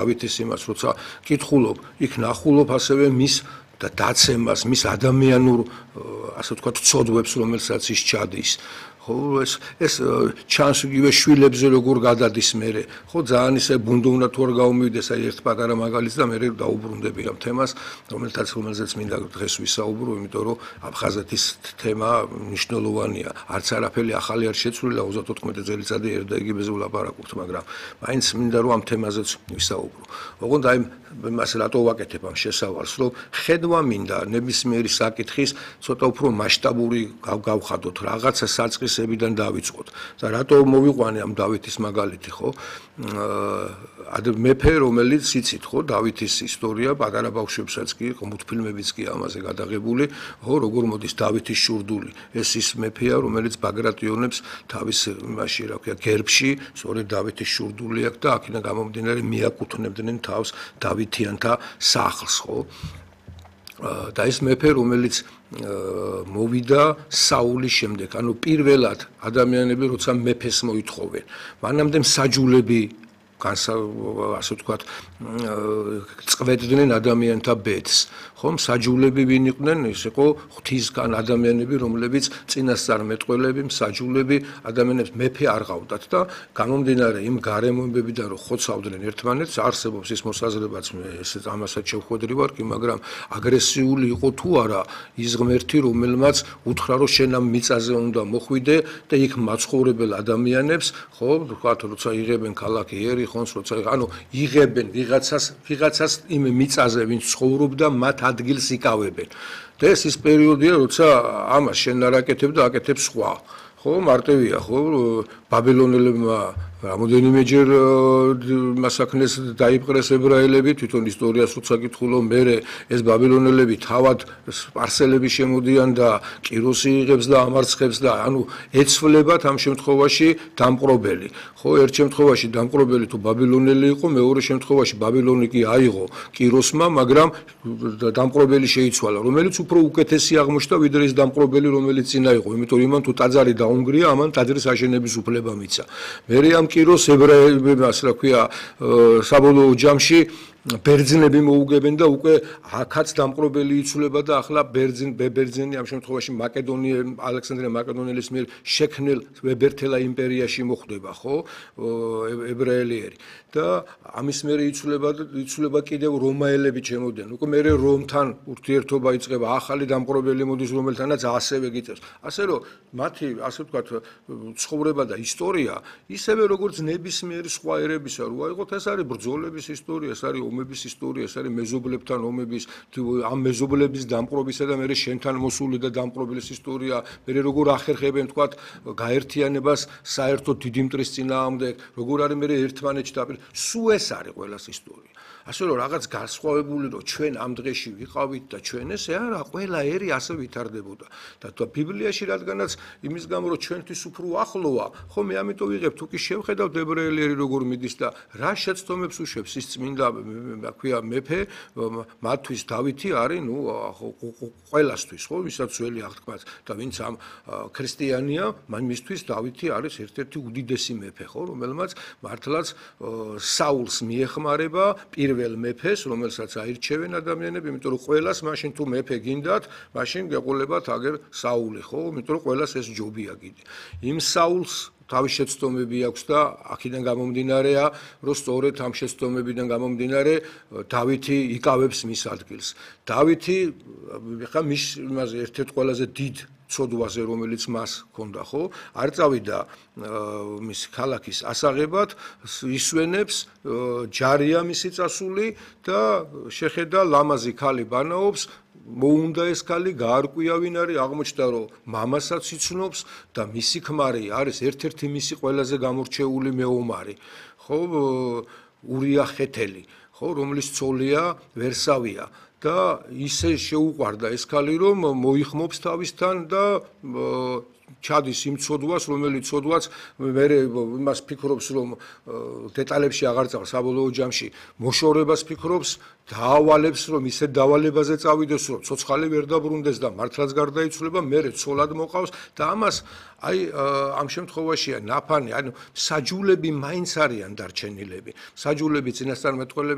დავითის იმას, როცა კითხულობ, იქ ნახულობ ასევე მის და დაცემას, მის ადამიანურ, ასე ვთქვათ, ცოდვებს, რომელსაც ის ჩადის. ხო, ეს ჩანს იგივე შვილებზე როგორ გადადის მერე. ხო, ძალიან ისე ბუნდოვნა თუ არ გაუმივიდეს, აი ერთ პატარა მაგალითს და მერე დაუბრუნდები ამ თემას, რომელზეც მინდა დღეს ვისაუბრო, იმიტომ რომ აფხაზეთის თემა მნიშვნელოვანია. არც არაფერი ახალი არ შეცვლილა 34 წელიწადი ერთ და იგივეზე ვლაპარაკობთ, მაგრამ მაინც მინდა რომ ამ თემაზეც ვისაუბრო. ოღონდ აი მას რატო ვაკეთებ ამ შესავალს, რომ ხედვა მინდა ნებისმიერი საკითხის ცოტა უფრო მასშტაბური გავხადოთ, რაღაცა საწყისებიდან დავიწყოთ. და რატო მოვიყვანე ამ დავითის მაგალითი, ხო? მეფე, რომელიც იცით, ხო, დავითის ისტორია, პატარა ბავშვებსაც კი, მულტფილმებიც კი ამაზე გადაღებული, ხო, როგორ მოდის დავითის შურდული. ეს ის მეფეა, რომელიც ბაგრატიონებს თავის იმაში, რა ქვია, გერბში, სწორედ დავითის შურდული აქვს და აქედან გამომდინარე მიაკუთვნებდნენ თავს დავითიანთა სახლს, ხო? და ეს მეფე, რომელიც მოვიდა საულის შემდეგ, ანუ პირველად ადამიანები როცა მეფეს მოითხოვენ, მანამდე მსაჯულები ასე ვთქვათ, წვედნენ ადამიანთა ბედს. ხო, მსაჯულები ვინ იყვნენ? ეს იყო ღვთისგან ადამიანები, რომლებიც წინასწარმეტყველები, მსაჯულები ადამიანებს მეფე არ ყავდათ და გამომდინარე იმ გარემოებებიდან რომ ხოცავდნენ ერთმანეთს, არსებობს ის მოსაზრებაც, ესეც ამასაც შევხვედრი ვარ კი, მაგრამ აგრესიული იყო თუ არა ის ღმერთი, რომელმაც უთხრა რომ შენ ამ მიწაზე უნდა მოხვიდე და იქ მაცხოვრებელ ადამიანებს, ხო, ვთქვათ, როცა იღებენ ქალაქი ერიხონს, როცა ანუ იღებენ ვიღაცას იმ მიწაზე, ვინც ცხოვრობდა, მათ ადგილს იკავებენ. და ეს ის პერიოდია, როცა ამას შენ არ აკეთებ და აკეთებს სხვა. ხო, მარტივია, ხო, ბაბილონელებმა რამოდენიმეჯერ მასაქნეს დაიპყრეს ებრაელები, თვითონ ისტორიას როცა გითხულო, მერე ეს ბაბილონელები თავად სპარსელები შემოდიან და კიროსი იღებს და ამარცხებს და ანუ ეცვლებათ ამ შემთხვევაში დამპყრობელი. ხო, ერთ შემთხვევაში დამპყრობელი თუ ბაბილონელი იყო, მეორე შემთხვევაში ბაბილონი კი აიღო კიროსმა, მაგრამ დამპყრობელი შეიცვალა, რომელიც უფრო უკეთესი აღმოჩნდა ვიდრე ის დამპყრობელი, რომელიც წინა იყო, იმიტომ რომ იმან თუ ტაძარი დაუნგრია, ამან ტაძრის აშენების უფლება მიცა. მერე ამ კიროს ებრაელებმა, რა ქვია, საბოლოო ჯამში ბერძნები მოუგებენ და უკვე აქაც დამპყრობელი იცვლება და ახლა ბერძენი ამ შემთხვევაში ალექსანდრე მაკედონელის მიერ შექმნილ ვებერთელა იმპერიაში მოხვდება, ხო, ებრაელიერი და ამის მერე იცვლება კიდევ რომაელები ჩემოდენ. უკვე მერე რომთან ურთიერთობა იწყება, ახალი დამპყრობელი მოდის, რომელთანაც ასევე გიწევს. ასე რომ მათი, ასე ვთქვათ, ცხოვრება და ისტორია ისევე როგორც ნებისმიერი სხვა ერებისა, რო აიღოთ, ეს არის ბრძოლების ისტორია, ეს არის ომების ისტორია, ეს არის მეზობლებთან ომების, ამ მეზობლების დამპყრობისა და მერე შენთან მოსული და დამპყრობლის ისტორია, მერე როგორ ახერხებენ, თქვათ, გაერთიანებას საერთოდ დიდი მტრის წინააღმდეგ, როგორ არის მერე ერთმანეთში დაპირ, სულ ეს არის ყველას ისტორია. ასე რომ რაღაც განსხვავებული რომ ჩვენ ამ დღეში ვიყავით და ჩვენ ესე არა, ყველა ერი ასე ვითარდებოდა. და ბიბლიაში რადგანაც იმის გამო რომ ჩვენთვის უფრო ახლოა, ხო მე ამიტომ ვიღებ, თუ კი შევხედავთ ებრაელი როგორ მიდის და რა შეცდომებს უშვებს ის წმინდა, რა ქვია, მეფე, მათთვის დავითი არის, ნუ ყველასთვის, ხო, ვისაც ძველი აღთქმაც და ვინც ამ ქრისტიანია, მისთვის დავითი არის ერთ-ერთი უდიდესი მეფე, ხო, რომელმაც მართლაც საულს მიეხმარება პირველ მეფეს, რომელსაც აირჩევენ ადამიანები, იმიტომ რომ ყველას მაშინ თუ მეფე გინდათ, მაშინ გეყოლებათ აგერ საული, ხო? იმიტომ რომ ყველას ეს ჯობია კიდე. იმ საულს თავის შეცდომები აქვს და აქედან გამომდინარეა, რომ სწორედ ამ შეცდომებიდან გამომდინარე დავითი იკავებს მის ადგილს. დავითი ხა მის ერთ-ერთ ყველაზე დიდ ცოდვაზე, რომელიც მას ჰქონდა, ხო? არ წავიდა მის ქალაქის ასაღებად, ისვენებს, ჯარია მისი წასული და შეხედა ლამაზი ქალი ბანაობს, მოუნდა ეს ქალი, გაარკვია ვინ არის, აღმოჩნდა რომ მამასაც იცნობს და მისი ქმარი არის ერთ-ერთი მისი ყველაზე გამორჩეული მეომარი, ხო, ურია ხეთელი, ხო, რომლის ცოლია ვერსავია. და ისე შეუყვარდა ეს ქალი, რომ მოიხმობს თავისთან და ჩადის იმ ცოდვას, რომელიც ცოდვაც მერე იმას ფიქრობს, რომ დეტალებში აღარ წავს, საბოლოო ჯამში მოშორებას ფიქრობს, დაავალებს, რომ ისე დავალებაზე წავიდეს, რომ ცოცხალი ვერ დაბრუნდეს და მართლაც გარდაიცვლება, მერე ცოლად მოყავს და ამას აი ამ შემთხვევაშია ნაფანი, ანუ საჯულები მაინც არიან დარჩენილები. საჯულები წინასწარმეტყველები